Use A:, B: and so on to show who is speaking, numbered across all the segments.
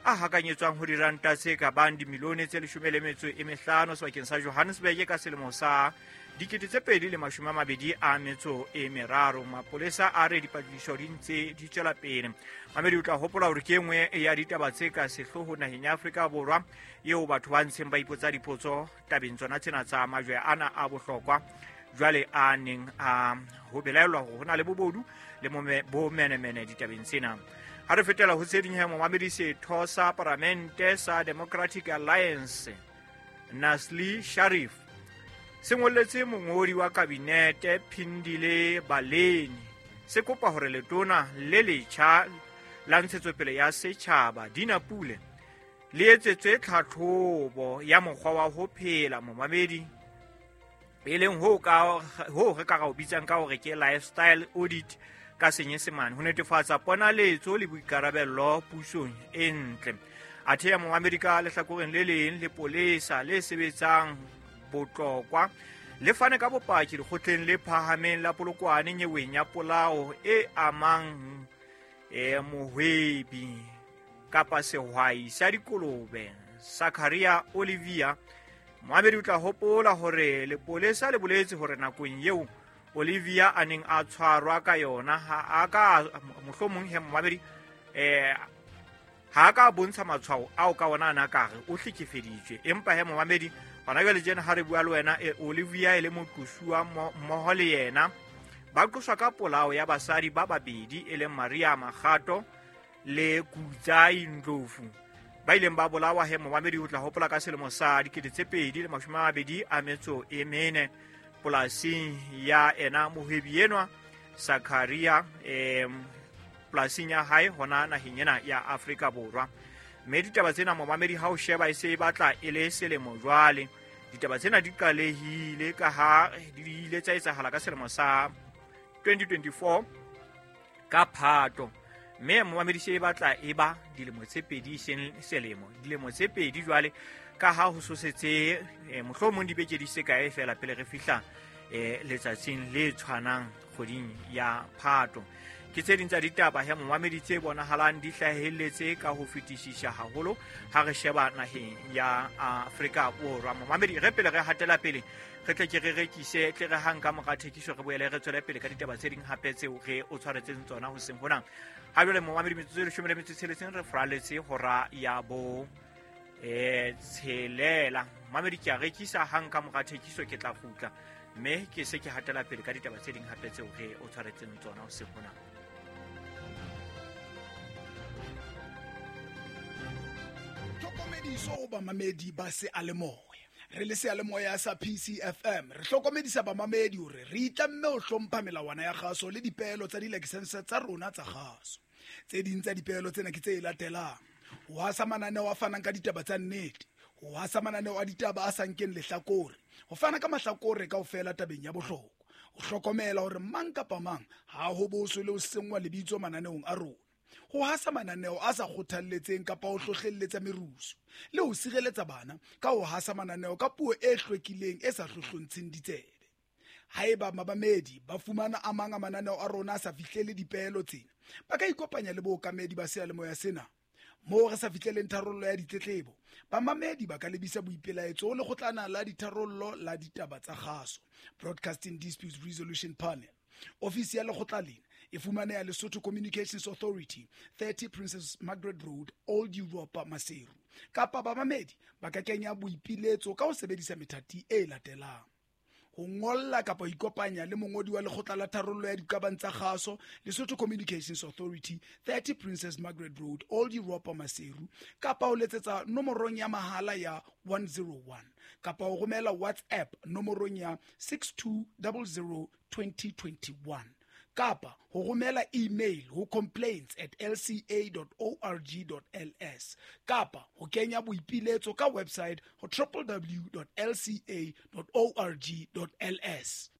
A: a hakanyetswang ho diranta tse ka bang dimilione tse 15 sebakeng sa Johannesburg ka selemo sa 2023. Mapolesa a re dipatlisiso di ntse di tswela pele. Mamedi, o tla hopola hore ke e nngwe ya ditaba tse ka sehloohong naheng ya Afrika Borwa eo batho ba ntseng ba ipotsa dipotso tabeng tsona tsena tsa majwe ana a bohlokwa jwale a neng a ho belaelwa hore ho na le bobodu le bomenemene ditabeng tsena. Ha re fetela ho tse ding, he momamedi, setho sa paramente sa Democratic Alliance Nasli Sharif se ngolletse mongodi wa kabinete Phindile Baleni se kopa hore letona le letjha la ntshetsopele ya setjhaba Dina Pule le etsetswe tlhatlhobo ya mokgwa wa ho phela, momamedi, e leng ho re ka ra o bitsang ka hore ke lifestyle audit ka Senyesemane, ho netefatsa ponaletso le boikarabello pusong e ntle. Athe ya momamedi, ka lehlakoreng le leng, lepolesa le sebetsang Botlokwa le fane ka bopaki lekgotleng le phahameng la Polokwane nyeweng ya polao e amang mohwebi kapa sehwai sa dikolobe Sakaria Olivia. Moamedi, o tla hopola hore lepolesa le boletse hore nakong eo Olivia a neng a tshwarwa ka yona ha a ka mohlomong, he momamedi, ha a ka bontsha matshwao ao ka ona a na ka re o hlekefeditswe. Empa he momamedi, hona jwale tjena ha re bua le wena, Olivia e le moqosuwa mmoho le yena ba qoswa ka polao ya basadi ba babedi e leng Maria Makgato le Kutsai Ndlovu, ba ileng ba bolawa, he momamedi, o tla hopola ka selemo sa 2024 polasing ya ena mohwebi enwa Sakaria, polasing ya hae hona naheng ena ya Afrika Borwa. Mme ditaba tsena, momamedi, ha o sheba e se e batla e le selemo jwale ditaba tsena di qalehile, ka ha di ile tsa etsahala ka selemo sa 2024 ka Phato. Mme momamedi, se e batla e ba dilemo tse pedi, seng selemo, dilemo tse pedi jwale, ka ha ho sosetse mohlomong dibeke di se kae fela pele re fihla letsatsing le tshwanang kgweding ya Phato. Ke tse ding tsa ditaba, he momamedi, tse bonahalang di hlahelletse ka ho fetisisa haholo ha re sheba naheng ya Afrika Borwa. Momamedi, re pele re hatela pele, re tle ke re rekise, tle re hang ka mora thekiso re boele re tswele pele ka ditaba tse ding hape tseo re o tshwaretseng tsona hoseng hona. Ha jwale, momamedi, metsotso e 16 re furaletse hora ya bo 6. Mamedi, ke a rekisa. Hang ka mora thekiso ke tla kgutla mme ke se ke hatela pele ka ditaba tse ding hape tseo re o tshwaretseng tsona hoseng hona.
B: Tlhokomediso ho bamamedi ba seyalemoya. Re le seyalemoya sa PCFM re hlokomedisa bamamedi hore re itlamme ho hlompha melawana ya kgaso le dipeelo tsa dilakesense tsa rona tsa kgaso. Tse ding tsa dipeelo tsena ke tse latelang: ho hasa mananeo a fanang ka ditaba tsa nnete, ho hasa mananeo a ditaba a sa nkeng lehlakore, ho fana ka mahlakore kaofela tabeng ya bohlokwa, ho hlokomela hore mang kapa mang ha ho boswe le ho senngwa lebitso mananeong a rona, ho hasa mananeo a sa kgothalletseng kapa ho hlohlelletsa merusu, le ho sireletsa bana ka ho hasa mananeo ka puo e hlwekileng e sa hlohlontsheng ditsebe. Haeba mamamedi ba fumana a mang a mananeo a rona a sa fihlele dipeelo tsena, ba ka ikopanya le bookamedi ba seyalemoya sena. Moo re sa fihleleng tharollo ya ditletlebo, bamamedi ba ka lebisa boipelaetso ho lekgotlana la ditharollo la ditaba tsa kgaso, Broadcasting Disputes Resolution Panel. Ofisi ya lekgotla lena e fumaneha Lesotho Communications Authority, 30 Princess Margaret Road, Old Europa, Maseru. Kapa bamamedi ba ka kenya boipiletso ka ho sebedisa methati e latelang: ho ngolla kapa ho ikopanya le mongodi wa lekgotla la tharollo ya diqabang tsa kgaso, Lesotho Communications Authority, 30 Princess Margaret Road, Old Europa, Maseru, kapa ho letsetsa nomorong ya mahala ya 101, kapa ho romela WhatsApp nomorong ya 6200 2021, kapa ho romela email ho complaints@lca.org.ls, kapa ho kenya boipiletso ka website ho www.lca.org.ls.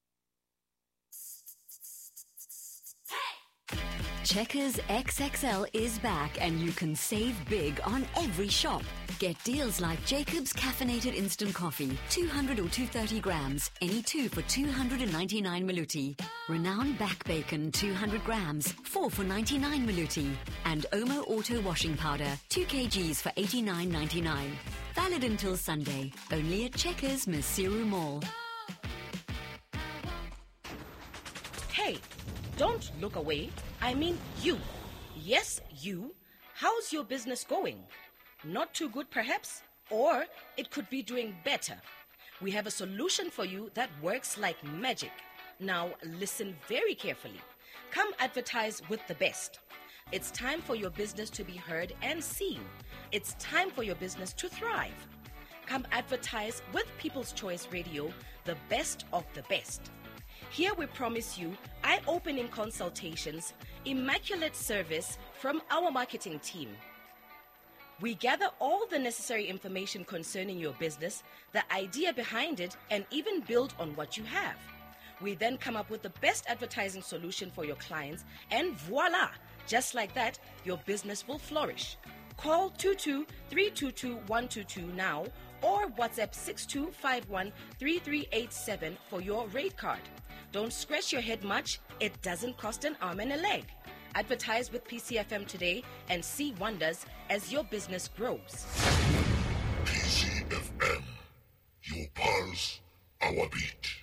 C: Checkers XXL is back and you can save big on every shop. Get deals like Jacob's Caffeinated Instant Coffee, 200 or 230 grams, any two for 299 Maluti. Renowned Back Bacon, 200 grams, 4 for 99 Maluti. And Omo Auto Washing Powder, 2 kgs for 89.99. Valid until Sunday, only at Checkers Maseru Mall.
D: Hey, don't look away. I mean you. Yes, you. How's your business going? Not too good, perhaps? Or it could be doing better. We have a solution for you that works like magic. Now, listen very carefully. Come advertise with the best. It's time for your business to be heard and seen. It's time for your business to thrive. Come advertise with People's Choice Radio, the best of the best. Here we promise you eye opening consultations, immaculate service from our marketing team. We gather all the necessary information concerning your business, the idea behind it, and even build on what you have. We then come up with the best advertising solution for your clients, and voila! Just like that, your business will flourish. Call 22 322 122 now or WhatsApp 6251 3387 for your rate card. Don't scratch your head much, it doesn't cost an arm and a leg. Advertise with PCFM today and see wonders as your business grows.
E: PCFM, your pulse, our beat.